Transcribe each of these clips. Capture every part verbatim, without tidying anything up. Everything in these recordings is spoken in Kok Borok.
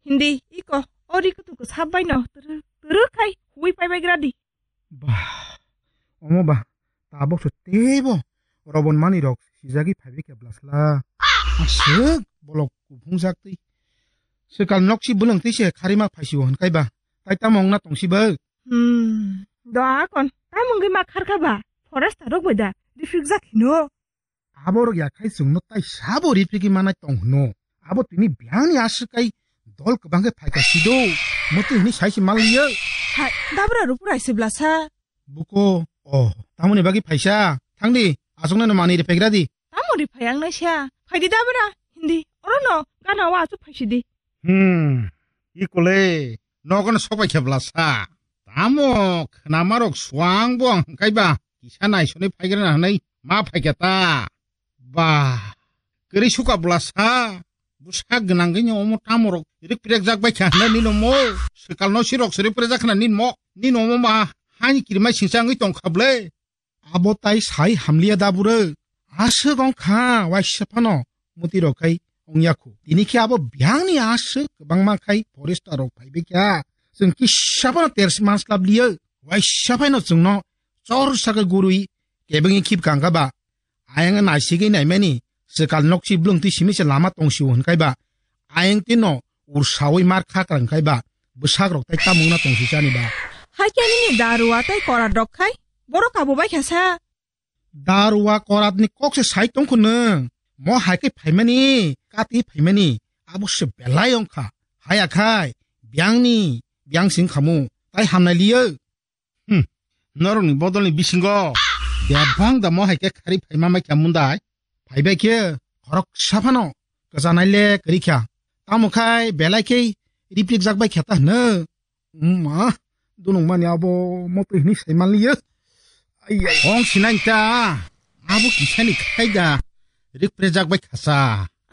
Hindi, iko, o ri kutu ko sab bai no, turu, turu khai, hui pai bai gradi. Bah, omo ba, tabok so tebo, robon mani rok sijagi phaibi ke blasla. Aswk, bolok kuphung jak twi. Swkal nok si bwlwng twi se kharima phaisi o hwn kai ba. Tai tamo wng na tong si bo? Hmm, do akon, tamo wngwi ma khar kha ba? Forest rok bai da, rifrik jak hino. Aborok ya khai chwngno tai sabo riphrigwi manai tong hwno. Abo tini biyangni aswk kai dol kwbang khe phaikha sido. Muti hwnwi sai se manliyo. Hai, dabra rupura se blasa. Buko, oh, tamoni bagwi phaisa. Thangdi, aswkno no manwi riphegra di. Tamo ri phai ang naisa. Phaidi dabra, hindi. Oro no, gana wa achu phaisidi. Hmm, ikole, nogono sobai khe blasa. Tamo khnamarok suang bo ang hwnkaiba kisa naisonwi phaigrana hwnwi ma phaikha ta. Ba, kwrwi suka bwlasa. Bwsak gwnangwi no omo tamorok rikprekjak bai kha hwnwi nini omo. Swkalno sirok se rikprekjak khna nini mo. Nini omo ma hani kirimai singsa wngwi tongkha ble. Abo tai sai hamliya da bwrwi. Aswk wng kha waisa phano muti rok khai wng ya khu. Tini khe abo biyangni aswk kwbangma khai forester rok phai bai kha. Chwng kisa phano ter manslap liyo. Waisa phaino chwngno chor sakhe gurui kebengwi khib kangkha ba. Ayang naisigwi naimani swkal nokchi bwlwng twi simi se lama tong sio hwn kai ba. Ayang tino ursawi mar kha krang kai ba. Bwsak rok tai tamung na tong si chani ba. Hai khe nini darua tai korat rok khai. Borok abo bai kha sa. Darua korat ni kok se sai tong khu nwng. Mo hai khe phaimani, kati phaimani. Abo se belai wng kha. Haya khai, biyangni, biyang sing khamu. Tai hamnai liyo. Hmm. Norokni bodolni bisingo bebang da mo hai khe khari phaima mai kha mundai. Phaibai khe khoroksa phano kwchanai le kwrwi kha. Tamo khai belai khe riprik jak bai kha ta hwno. Wngma, dunung mani abo motwi hwnwi sai manliyo. Ai, ai. Ong sinai ta, abo kisani khai da rikpre jak bai kha sa.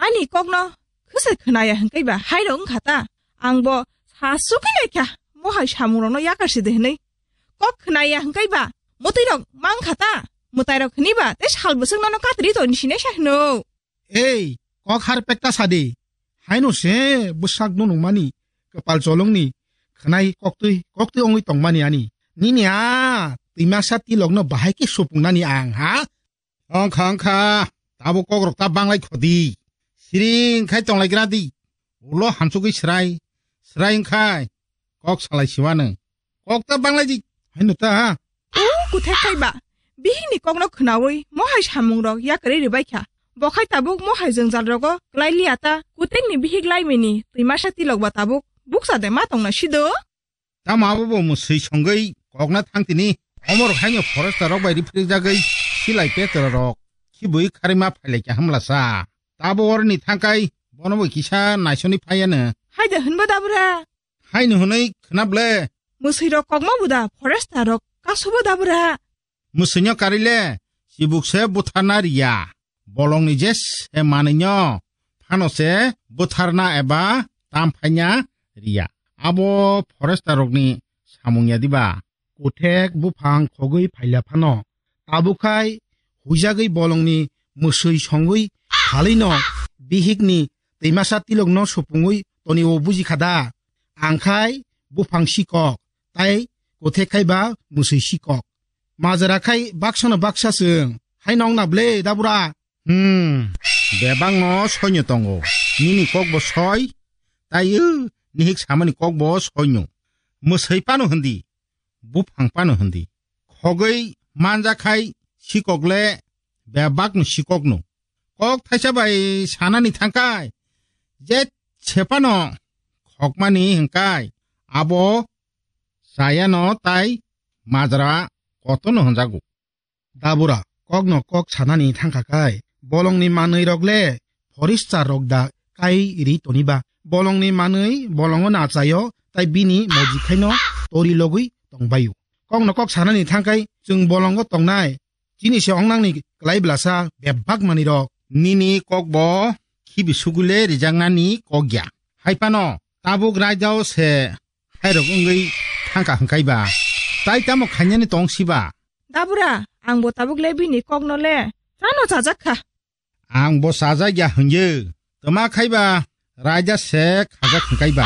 Ani kokno khwsai khwnaya hwnkhe ba hairok wngkha ta. Ang bo sa sukhi nai kha, mo hai samungrokno yakar si de hwnwi. Kok khwnaya hwnkhe ba mwtwi rok mang kha ta. Mwtai rok hwnwi ba tei sal bwswk nono katri to ni sinai sa hwno. Ei, kok har pekta sa de. Haino se bwsak no nungmani, kwpal cholongni khwnai koktwi, koktwi ongwi tongmani ani. Nini a twimasa tilokno bahai khe supung nani ang, ha? Ongkha, ongkha, tabuk kokrok ta banglai khodi. Siring khai tonglai gra di. Ulo hamsugwi srai, srai wngkhai kok salai siwano. Kok ta banglai di. Haino ta, ha? O kuthek khai ba. Bihikni kokno khwnaui mohai samungrok yakarwi rwbai kha. Bo khai tabuk mohai jwngjal rogo klai liya ta. Kuthekni bihik laimini twimasa tilok ba tabuk bukcha de ma tongna sido. Tamo abo bo mwswi songwi kokna thang tini. Omorok haino forester rok bai riphrikjagwi silai petra rok khibui kharima phailai kha hamlasa. Tabo oroni thangkai bono bo kisa naisoni phaiya no. Haida hwnba dabra. Haino hwnwi khwnable. Mwswi rok kokma buda forester rok kasobo dabra. Mwswino karile chibuk se butharna riya. Bolongni je se manwino phano se butharna eba tamphaina riya. Abo forester rokni samung ya diba? Kuthek buphang khogwi phaila phano. Tabuk khai huijagwi bolongni mwswi songwi phalwino bihikni twimasa tilokno supungwi tonio buji kha da? Ang khai buphang sikok, tai kuthek khai ba mwswi sikok. Majra khai baksa no baksa chwng. Hai nong na ble dabura? Hmm, bebak no soi no tongo. Nini kok bo soi, tai o nihik samani kok bo soi no. Mwswi pano hindi, buphang pano hindi. Khogwi manja khai sikok le bebak no sikok no. Kok thaisa bai sanani thangkai, je sepano khokmani hingkai, abo chayano tai majra kotono hwnjago. Dabura, kokno kok sanani thangkha kai, bolongni manwi rok le forester rok da kai ri toniba? Bolongni manwi bolongo nachaio, tai bini moji khaino tori logwi tongbaio. Kokno kok sanani thangkai chwng bolongo tongnai, chini se ongnangni klai blasa bebak manwi rok. Nini kok bo khibi sugule rijaknani kok ya. Hai phano tabuk raidao se hairok wngwi thangkha hwnkaiba, tai tamo khainani tong siba? Dabura, ang bo tabuk le bini kokno le chano chajak kha. Ang bo chajak ya hwnyo, twma khaiba raida se khajak hwnkaiba.